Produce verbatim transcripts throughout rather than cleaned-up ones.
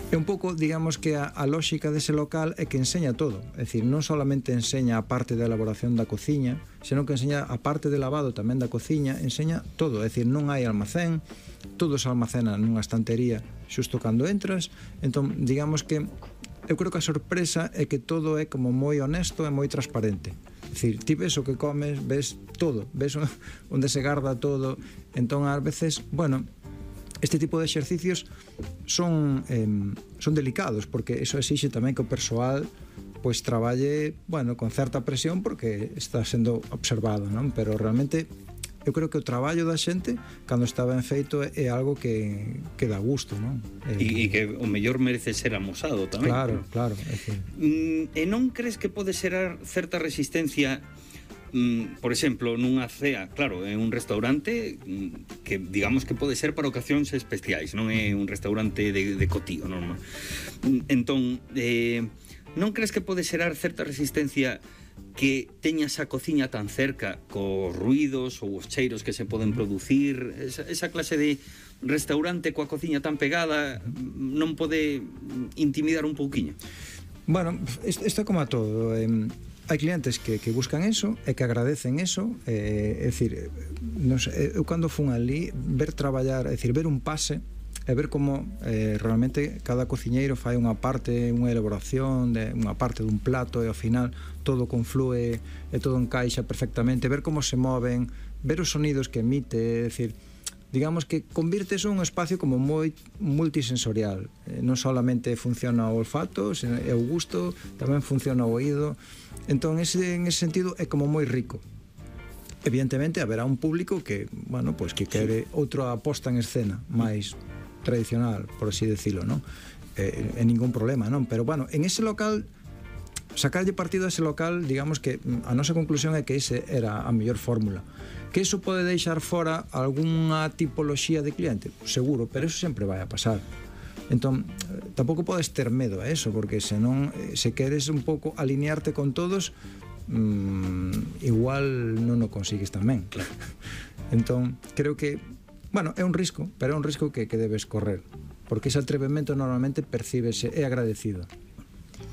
É un pouco, digamos que a, a lógica dese local é que enseña todo, é dicir, non solamente enseña a parte da elaboración da cociña, senón que enseña a parte de lavado tamén da cociña, enseña todo, é dicir, non hai almacén, todo se almacena nunha estantería xusto cando entras, entón, digamos que eu creo que a sorpresa é que todo é como moi honesto e moi transparente. É dicir, ti ves o que comes, ves todo, ves onde se garda todo, entón ás veces, bueno, este tipo de exercicios son eh, son delicados porque eso exixe tamén que o persoal pois traballe, bueno, con certa presión porque está sendo observado, non? Pero realmente eu creo que o traballo da xente cando está ben feito é, é algo que, que dá gusto, non? E, e que o mellor merece ser amosado tamén. Claro, claro. É que... mm, e non crees que pode ser certa resistencia, mm, por exemplo, nunha cea, claro, é un restaurante mm, que digamos que pode ser para ocasións especiais, non é un restaurante de, de cotío, non? Entón, eh, non crees que pode xerar certa resistencia que teñas a cociña tan cerca cos ruidos ou os cheiros que se poden producir, esa, esa clase de restaurante coa cociña tan pegada non pode intimidar un pouquiño? Bueno, isto é como a todo, eh, hai clientes que, que buscan eso e que agradecen eso, eh, é dicir, non sei, eu cando fun ali ver traballar, é dicir, ver un pase e ver como eh, realmente cada cociñeiro fai unha parte, unha elaboración de unha parte dun plato e ao final todo conflúe e todo encaixa perfectamente, ver como se moven, ver os sonidos que emite, é dicir, digamos que convirtes un espacio como moi multisensorial, eh, non solamente funciona o olfato e o gusto, tamén funciona o oído, entón ese, en ese sentido é como moi rico. Evidentemente haberá un público que, bueno, pois que quere outra aposta en escena máis tradicional, por así decirlo, non? Eh, en ningún problema, non? Pero, bueno, en ese local, sacarlle partido a ese local, digamos que a nosa conclusión é que ese era a mellor fórmula. Que iso pode deixar fora algunha tipoloxía de cliente? Seguro, pero eso sempre vai a pasar. Entón, tampouco podes ter medo a eso, porque senón, se queres un pouco alinearte con todos, mmm, igual non o consigues tamén. Claro. Entón, creo que bueno, é un risco, pero é un risco que, que debes correr, porque ese atrevemento normalmente percíbese, é agradecido.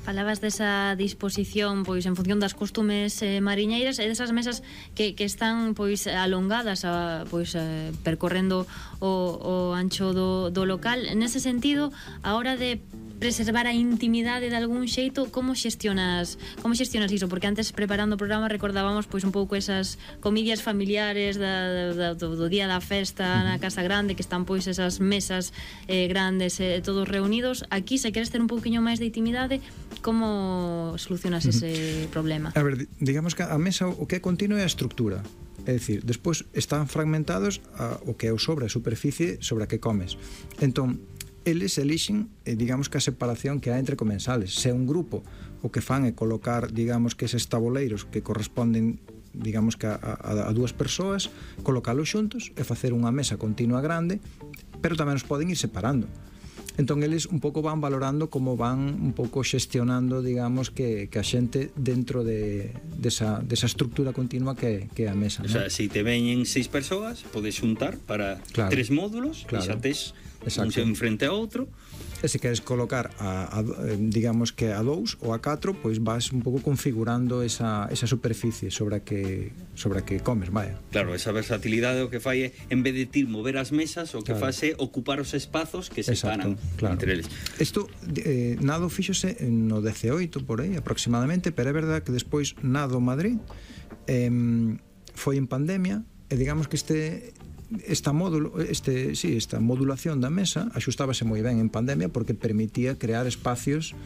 Falabas desa disposición pois en función das costumes eh, mariñeiras e desas mesas que, que están pois alongadas a, pois eh, percorrendo o, o ancho do, do local. Nese sentido, a hora de preservar a intimidade de algún xeito, como xestionas como xestionas iso? Porque antes, preparando o programa, recordábamos pois un pouco esas comidas familiares da, da, do, do día da festa na casa grande, que están pois esas mesas eh, grandes e eh, todos reunidos. Aquí, se queres ter un pouquiño máis de intimidade, como solucionas ese problema? A ver, digamos que a mesa o que é continuo é a estructura. É dicir, despois están fragmentados a, o que é o sobre, a superficie sobre a que comes. Entón, eles elixen, eh, digamos que a separación que hai entre comensales. Se é un grupo, o que fan é colocar, digamos que eses tabuleiros que corresponden, digamos que a, a, a dúas persoas, colocalos xuntos e facer unha mesa continua grande, pero tamén os poden ir separando. Entón eles un pouco van valorando como van un pouco xestionando, digamos, que, que a xente dentro de, desa, desa estructura continua que, que é a mesa, o sea, se si te veñen seis persoas, podes xuntar para claro, tres módulos, claro, e xa tes un en frente a outro. E se queres colocar a, a, digamos que a dous ou a catro, pois vas un pouco configurando esa, esa superficie sobre a que sobre a que comes, vaya. Claro, esa versatilidade o que fai é, en vez de ti mover as mesas, o que claro, faz é ocupar os espazos que se separan claro, entre eles. Isto, eh, Nado fíxose no dezaoito, por aí, aproximadamente, pero é verdad que despois Nado Madrid eh, foi en pandemia, e digamos que este esta módulo, este, sí, esta modulación da mesa axustábase moi ben en pandemia porque permitía crear espacios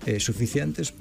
eh, suficientes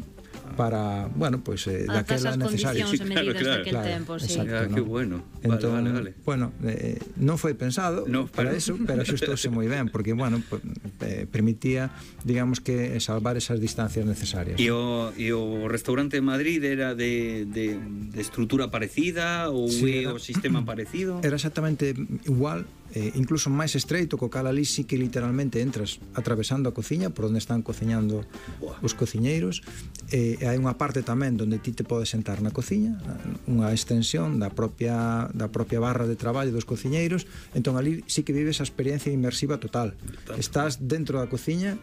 para, bueno, pues eh, daquela necesario. Sí, claro, claro, claro, tempo, sí. Exacto, ah, ¿no? Que bueno. Entón, vale, vale, vale. Bueno, eh, non foi pensado no, para pero... eso, pero axustouse moi ben porque, bueno, pues, eh, permitía, digamos que salvar esas distancias necesarias. E o, e o restaurante de Madrid era de, de, de estrutura parecida ou sí, era, o sistema parecido? Era exactamente igual, eh, incluso máis estreito, co cal ali sí que literalmente entras atravesando a cociña por onde están cociñando Buah. os cociñeiros, e eh, hai unha parte tamén onde ti te podes sentar na cociña, unha extensión da propia da propia barra de traballo dos cociñeiros, entón ali sí que vives a experiencia inmersiva total. total. Estás dentro da cociña